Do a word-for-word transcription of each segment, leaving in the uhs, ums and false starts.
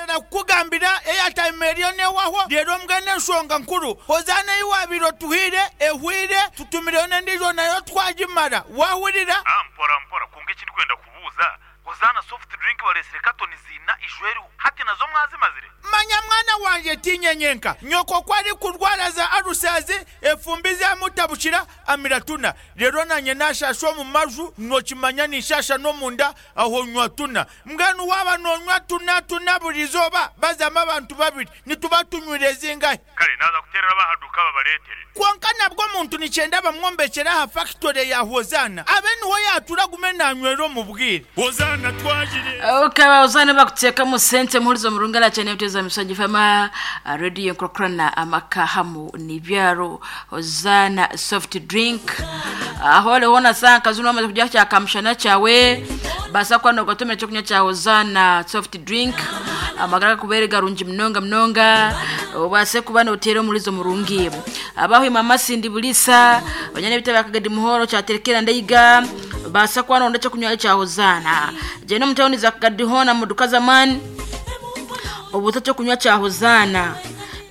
Naaheza kukugambira airtime eriyo neehwaho, reero mbwenu enshonga nkuru, Hozaana ei waabaire otuhaire ehwaire, tutumireyo n'endiijo nayo twagimara. Waahurira? Ah, mpora mpora, kwonka eki ndikwenda kubuuza, Hozaana soft drink bareetsire katoni ziina ijo eriho, hati nazo mwazimazire? Manya mwana wangye tiinye nyenka, nyoko ku arikurwara za alusazi, efumbi zamutabukira, amira tuna. Reero naanye naashaasha omu maju, nookimanya ninshaasha n'omunda, aho nywa tuna. Mbwenu waaba noonywa tuna tuna buri izooba, bazamu abantu babiri, nituba tunywire zingahi? Kare naaza kuteerera ab'aha duuka babareetere. Kwonka nabwo omuntu nikyenda bamwombekyere aha fakitore ya Hozaana, abe niho yaatuura agume naanywera omu bwire. Hozaana twagire. Okay, Hozaana bakuteekamu sente muhuriza omurungi arakyane ebiteezo misajja fama radio enkurakurana amaka hamu n'ibyaro. Hozaana soft drink aho oriho nasanga kazi wamaze kurya kya kamushana kyawe, basa kuba nogotomera ekyokunywa kya Hozaana soft drink, amagara gakubere garungi munonga munonga, obase kuba noteera omurizo murungi. Abahwima amasindi bulisa banyana ebitebe akagadi muhoro kyaterekera ndeiga, basa kuba nonda ekyokunywa kya Hozaana. Genda omu tawuni za Kagadi hoona mu duka z'amaani, obuta ekyokunywa kya Hozaana,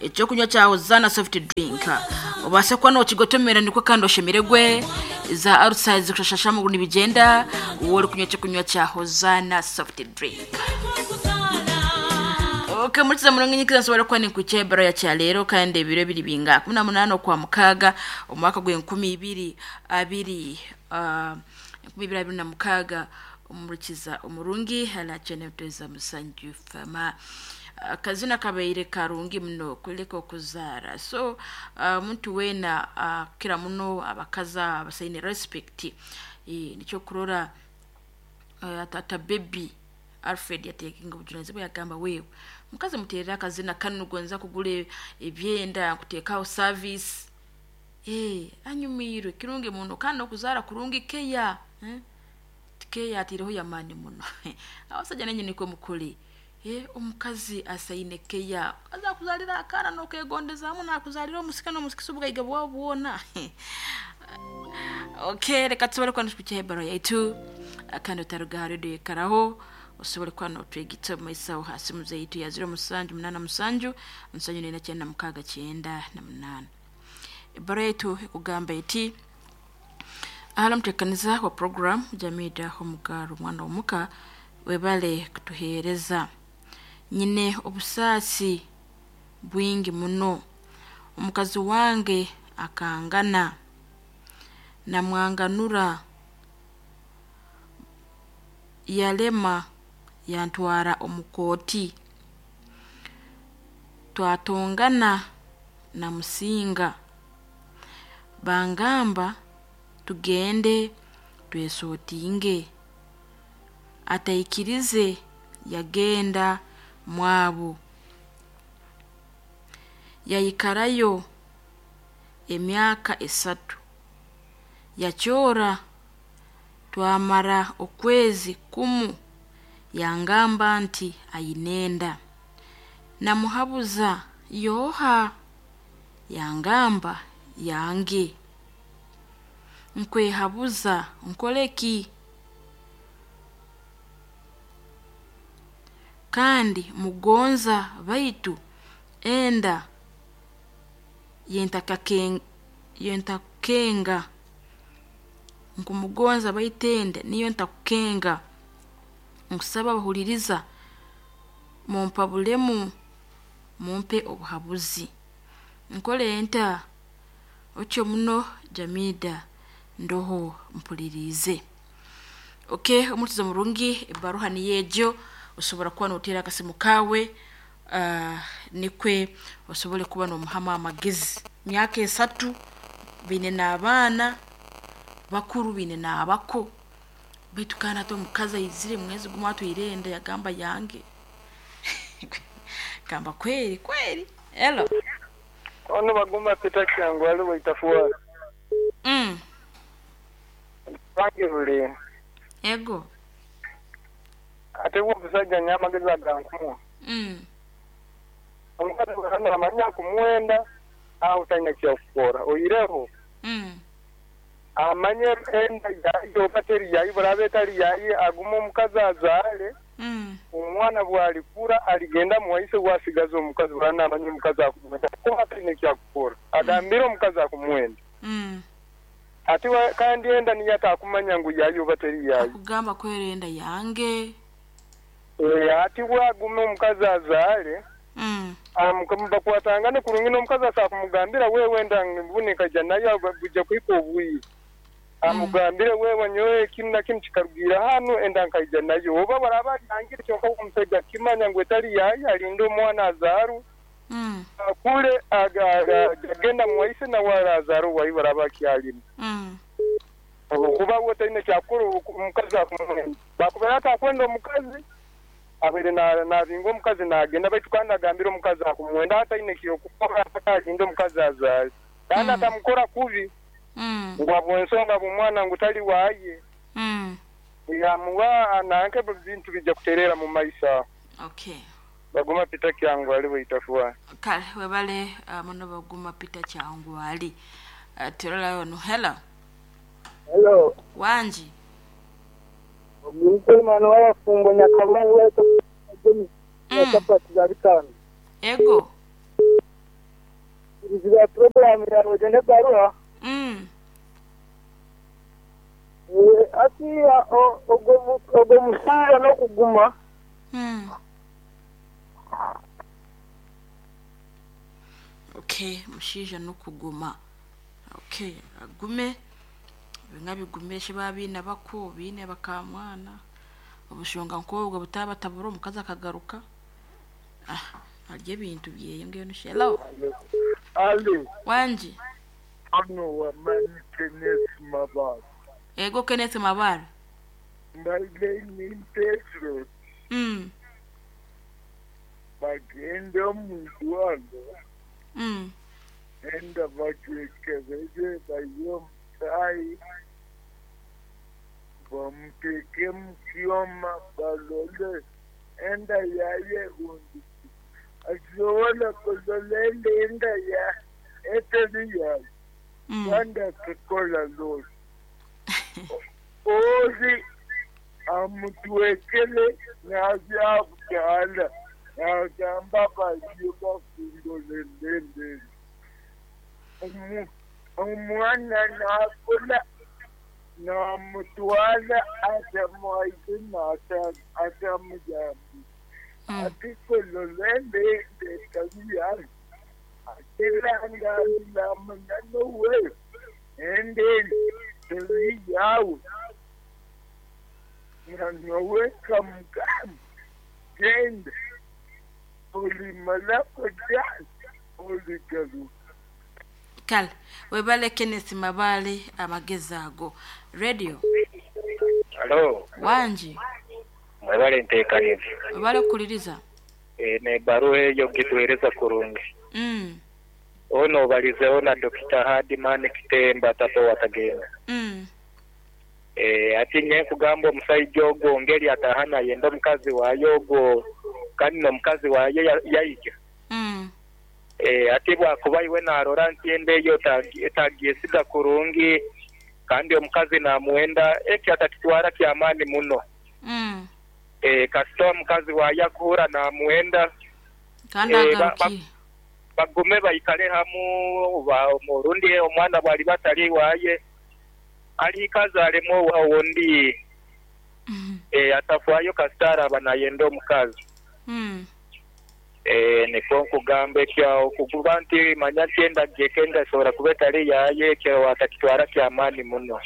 ekyokunywa kya Hozaana soft drink, obase kuba nokigotomera nikwo kandi oshemeregwe za arusazi zikushashasha amaguru nibigyenda wowe orikunywa ekyokunywa kya Hozaana soft drink. Okay, murikiza murongo nyikiza nsobora kuba ninkwikya ebaro ya kyaleero kandi ebiro biri binga kumi na munaana okwa mukaaga omwaka gw'enkumi ibiri abiri ah, enkumi ibiri abiri na mukaaga. Omurikiza omurungi halakyene mutweza musanju fama akazina kabaire karungi muno kuleka okuzaara. So omuntu weena akira muno abakazi abasaine respect, eh, nikyo kurora uh, tata baby Alfred yateekinga obujunanizibwa yagamba, wewe mukazi muteerere akazina kanu gonza kugura ebyenda nkuteekaho service. Eh, anyumiirwe kirungi muno kandi okuzaara kurungi keya, eh? Keya atiireho yamaani muno. Abasajja nenye nikwe mukore. Eh, omukazi asaine keya, aza kuzaalira akaana n'okegondezaamu nakuzaalira omusika n'omusikisa obugaiga bwawe bwona. Okay, reka tusobole kuba nitukukiha ebaro yaitu kandi otaruga aha redio ekaraho, osobole kuba notwegitsa omu maiso aho ha simu zaitu ya ziro musanju munaana musanju musanju nina kyenda mukaaga kyenda na munaana. Ebaro yaitu ekugamba eti, ahali omuteekaniza wa program Jamida Omugaru omwana w'omuka, webale kutuheereza. Nyine obusaasi bwingi muno, omukazi wange akangana namwanganura yalema yantwara omu kooti, twatongana namusinga, bangamba tugende twesootinge, ataikirize yagenda mwabo, yayikarayo emyaka esatu, yakyora twamara okwezi kumu yangamba nti aine enda, namuhabuza yooha, yangamba yange, nkwehabuza nkoreki? Kandi mugonza baitu enda yentakukenga, nkumugonza baitu enda niyo ntakukenga, nkusaba bahuririza mumpabulemu mumpe obuhabuzi, nkore nta? Otyo muno Jamida ndoho mpuririize. Okay, omurikiza murungi ebaruha niyo egyo, osobora kuba noteera akasimu kaawe uh, nikwe osobole kuba nomuhamu amagezi. Myaka esatu baine n'abaana bakuru baine n'abako, baitu kandi hati omukazi aizire mwezi gumwe atwire enda yagamba yange. Gamba kweri kweri. Hello. Ono bagumba Peter Kyangu ali waitafuwa. Mm. Bange bule. Ego. Ate wo omusajja nya amagezi agankumwa. Mm. Omukazi bw'aba amanya kumuwenda aho talina kyakukora oyireho. Mm. Amanye enda yayi oba teri yayi buraba etari yayi aguma omukazi azaale. Mm. Omwana bwalikura aligenda muwaise wasigaza omukazi bwana omukazi akumwenda kuba ataine kyakukora agambire omukazi akumwenda. Mm. Ati kandi enda niyo atakumanya ngu yayo bateri yayo akugamba kwerenda yange. E, ati wagume omukazi azaale. Mm. Amukamubakwatangane kurungi n'omukazi asakumugambira wewe enda mbunika ja nayo buja kwiko obwiire. Amugambire wewe nyowe kinu na kinu kikarugira hano enda nkaija nayo oba baraba yangire kyonka omusajja kimanya ngu etali yayo alinde omwana azaru. Mm. Akule agenda muwaise na wala azaru wayi baraba kyalimu. Mm. Okuba wotaine kyakuru omukazi akumwenda bakubera atakwenda omukazi abere na nabinga omukazi nagenda baitu kandi agambire omukazi akumwenda ataine kyokukora akalinde omukazi azaale kandi atamukora kubi. Mm. Ngwabwo ensonga bw'omwana ngu tali waaye. Mm. Yamuwa nanke bintu bijja kuterera mu maisa. Okay. Baguma Peter Kyangu ali bwitafuwa. Kale webale uh, muno baguma Peter Kyangu ali. Uh, tirola yono. Hello. Hello. Wanji. Mwana w'abafumbo Nyakamanyi wetu Mm. chapati za bitano. Ego. Ibiziba program ya Rogende Barua. Mm. Eh, ati ogo ogo musira no kuguma. Mm. Okay, mushija no kuguma. Okay, agume binga bigumeshe babina bako bine bakamwana. Obushonga nkobwo butaba tabura omukazi akagaruka. Ah, arye bintu byeye ngeno. Hello. Ali. Wanji. Ano wa mani Kenneth Mabara. Ego Kenneth Mabara. Mbaile ni Petro. Mm. Bagenda mu Rwanda. Mm. Enda batekereze bayo mtai. Bamuteke mu kyoma balole. Enda yaye undi. Asobola kuzolenda enda ya eteri yaye. Mm. Rwanda kukola lori. Ori amutwekele nabyabugala nagamba bayo bafundolelele. Omwana nakola namutwala atamwaise atamuyambi. Mm. Atikololende ndetabiyayo. Atilangambilamunanowe endeni tebiyawe. Nanowe kamukama genda olimalako jani oligaluka. Kale webale Kenneth Mabale amagezi ago. Radio. Hello. Wanji. Mwebale nteekanize. Webale kuliriza. E, ne baruwa eyo gituweereza kurungi. Mm. Ono obalizeho na Dokita Hardman Kitemba tato watagenda. Mm. E, ati nye kugamba omusajja ogwo ngeri atahana yenda omukazi waayo ogwo kandi n'omukazi waayo yaija. Mm. E, ati bwakuba iwe narora nti enda eyo etagyesiga kurungi kandi omukazi namuwenda ekyo atakitwara kyamaani muno. Mm. E, kasita omukazi waayo akuhura namuwenda kandi e, ba, ba, agaruki bagume baikale hamu ba orundi omwana bwali batali waaye alikaza alemu owundi. Mm. E, atafwayo kasita araba nayenda omukazi. Mm. E, niko nkugamba ekyo okukuba nti manya nti enda gyekenda esobola kuba etali yaye ekyo atakitwara kyamaani muno.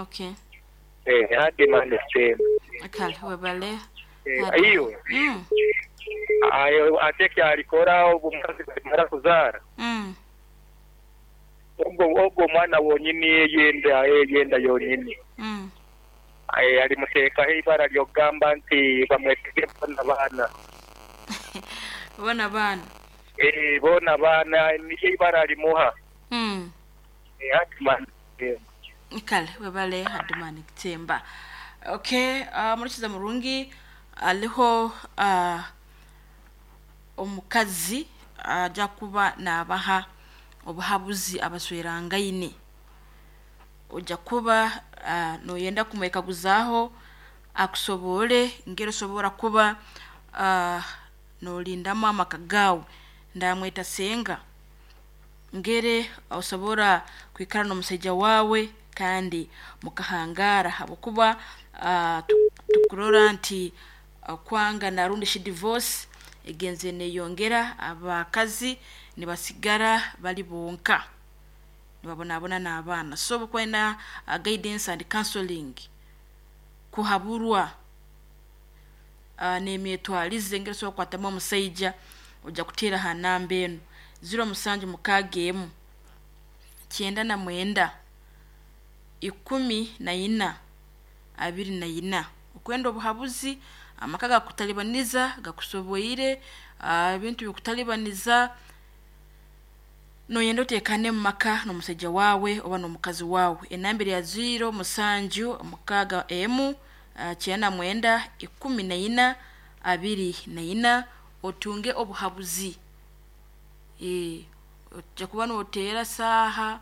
Okay. E, Hardman Kitemba. Kale webale. E, iyo Mm. ayo ate kyalikora omukazi bamara kuzaara. Mm. Ogwo ogwo omwana wonyini yenda yenda yonyini. Mm. Aye alimuteekaho ibara ly'okugamba nti bamwetege bona baana. Bona baana. Eh, bona baana niyo ibara limuha. Mm. Eh, Hardman Kitemba. Kale webale Hardman Kitemba. Okay, uh, murikiza murungi aliho uh, omukazi aja kuba nabaha obuhabuzi abaswerangaine. Ojja kuba uh, noyenda kumwekaguzaho Akusobole ngeri osobora kuba uh, nolindamu amaka gawe. Ndamweta senga ngere osobora kwikara n'omusajja wawe kandi mukahangara, habwokuba uh, tukurora nti uh, kwanga narundi shi divorce egenze neyongera, abakazi nibasigara bali bonka nibabonabona n'abaana. So bukwenda uh, guidance and counseling, kuhaburwa uh, n'emyetwarize ngeri osobola kukwatamu omusaija. Ojja kuteera ha namba enu ziro musanju mukaaga emu kyenda na mwenda ikumi na ina abiri na ina. Okwenda obuhabuzi, amaka gakutalibaniza gakusoboire, ebintu bikutalibaniza, noyenda otekane mu maka n'omusajja wawe oba n'omukazi wawe. Enamba ya ziro musanju mukaaga emu kyenda na mwenda ikumi na ina abiri na ina, otunge obuhabuzi. E, ojja kuba noteera saaha,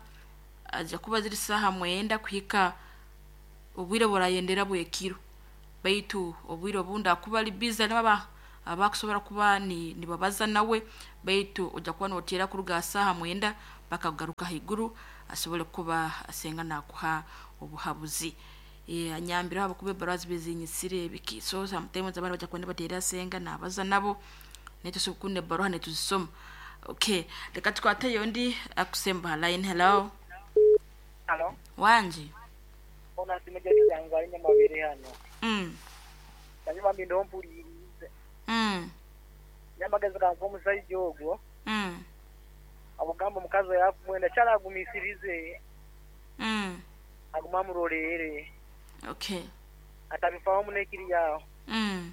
ajja kuba ziri saaha mwenda kuhika obwire burayendera bwekiro, baitu obwire obundi akuba ari busy nibaba abakusobora kuba ni nibabaza nawe, baitu ojja kuba noteera kuruga saaha mwenda bakagaruka haiguru asobole kuba asenga nakuha obuhabuzi. E, anyambira abo kuba ebarazi bezinyisire biki, so sometimes abana bajja kwenda bateera asenga nabaza nabo netusukunde baruha netuzisoma. Okay, reka tukwate yondi akusemba line. Hello. Hello. Wanje. Ona simeje yangu ali nyamabere hano. Mm. Ndanyuma mbindo mpulirize. Mm. Nyamagezi kanko omusajja ogwo. Mm. Abugamba omukazi yakumwenda kyalagumisirize. Mm. Aguma murorere. Okay. Atabifaho munekiri yawo. Mm.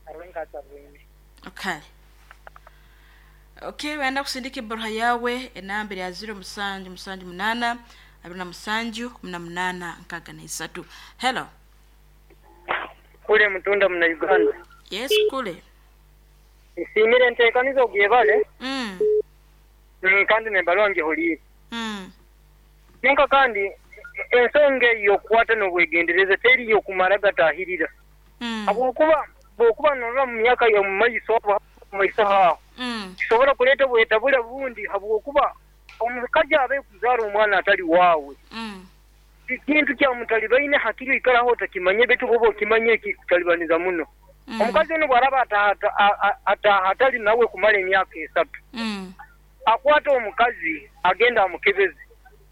Arenga tabwine. Okay. Okay, wenda kusindika ebaruha yawe enamba ya ziro musanju musanju munana abiri na musanju kumi na munana nkaaga na isatu. Hello. Kule mutunda muna Uganda. Yes, kule. Nsimire ntekanizo gyebale. Mm. Mm, kandi nembaluwa ngihulire. Mm. Ninka kandi ensonga eyo okukwata n'obwegendereza teri yokumara gatahirira. Mm. Habwokuba bwokuba norora mu myaka yo mu maiso mu maiso haho. Mm. Kisobora kuleeta obwetabura bundi habwokuba omukazi abe kuzaara omwana atali waawe. Mm. Ekintu kyamutalibaine hakiri ikaraho otakimanye betu bwoba okimanye kikutalibaniza muno. Mm. Omukazi ono bw'araba ataha atali nawe kumala emyaka esatu. Mm. Akwata omukazi agenda amukebeze.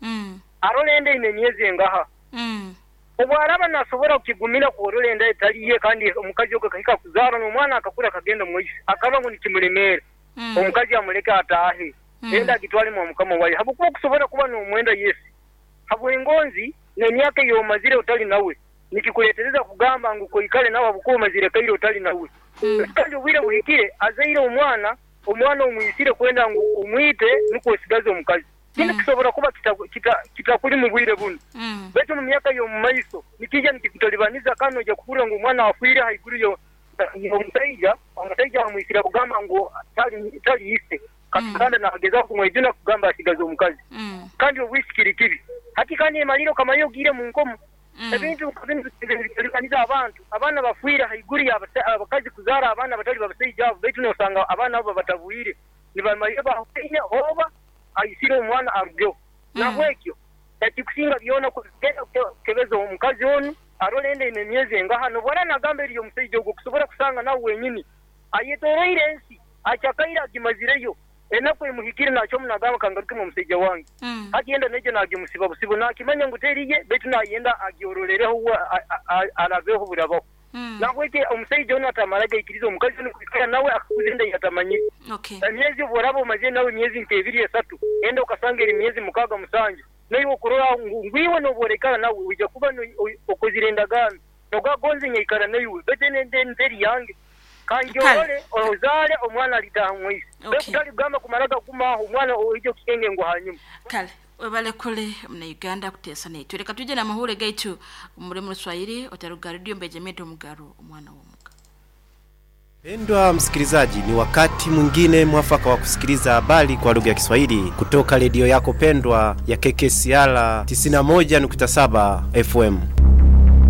Mm. Arora enda ine emyezi engaha. Mm. Obw'araba nasobora kukigumira kworora enda etali ye kandi omukazi ogwo akahika kuzaara n'omwana akakura akagenda mu maiso akaba ngu nikimulemeera. Mm. Omukazi amuleke ataahe. Mm. Enda agitwalemu omukama waye habwokuba okusobora kuba n'omwenda yesi habw'engonzi n'emyaka ey'omazire otali nawe nikikuleetereza kugamba ngu koikale nawe habwokuba omazire kaire otali nawe. Mm. Kandi obwire buhikire azaire omwana, omwana omwisire kwenda ngu omwite nukwo osigaze omukazi. Kinu Mm. kisobora kuba kitakuli kita, kita mu bwire buno. Mm. Baitu mu myaka y'omu maiso nikija nikikutalibaniza kandi ojja kuhurira ngu omwana afiire haiguru yo omusaija, omusaija amwisire kugamba ngu tali tali ise. Mm. Kandi nagezaho kumwejuna kugamba asigaze omukazi. Mm. Kandi obwisikiri kibi. Hati kandi emaliro kamayo ogire mu nkomo. Mm. Ebintu kabintu bitalibanyiza abantu. Abaana bafiire haiguru y'abakazi kuzaara abaana batali babasaija abo, baitu nosanga abaana abo batabwire. Nibamalire bahuine oba aisire omwana arugeho. Mm. Nahwekyo ekikusinga byona kugenda kukebeza omukazi onu arora enda ine emyezi engaha nobwara nagamba eriyo omusaija ogwo kusobora kusanga nawe wenyini ayetoroire ensi akyakaire agimazireyo enaku emuhikire nakyo munagamba kangarukemu omusaija wange. Mm. Hati yenda nejo nagimusiba busibo nakimanya ngu teriye baitu nayenda agyororereho arabeho burabaho. Mm. Nahwekyo omusaija onu atamara gaikiriza omukazi onu kwikara nawe akakuza enda yatamanyire. Okay. Emyezi obworaba omazire nawe emyezi nk'ebiri esatu enda okasanga eri myezi mukaaga musanju naiwe okurora ngu ngwiwe nobworekara nawe ojja kuba okozire endagaano nogagonze nyaikara naiwe baitu ende nteri yange kanjorore ozaale omwana alitaha mwisi. Okay. Baitu tali kugamba kumara gakumaho omwana oija kukenge ngu hanyuma. Kale webale kule muna Uganda kuteesa netu. Reka tuje na mahure gaitu umuremu Ruswahili otaruga radio mbejemeto mugaro omwana w'omuka. Pendwa msikilizaji, ni wakati mwingine mwafaka wa kusikiliza habari kwa lugha ya Kiswahili kutoka redio yako pendwa ya K K C R tisini na moja nukta saba F M.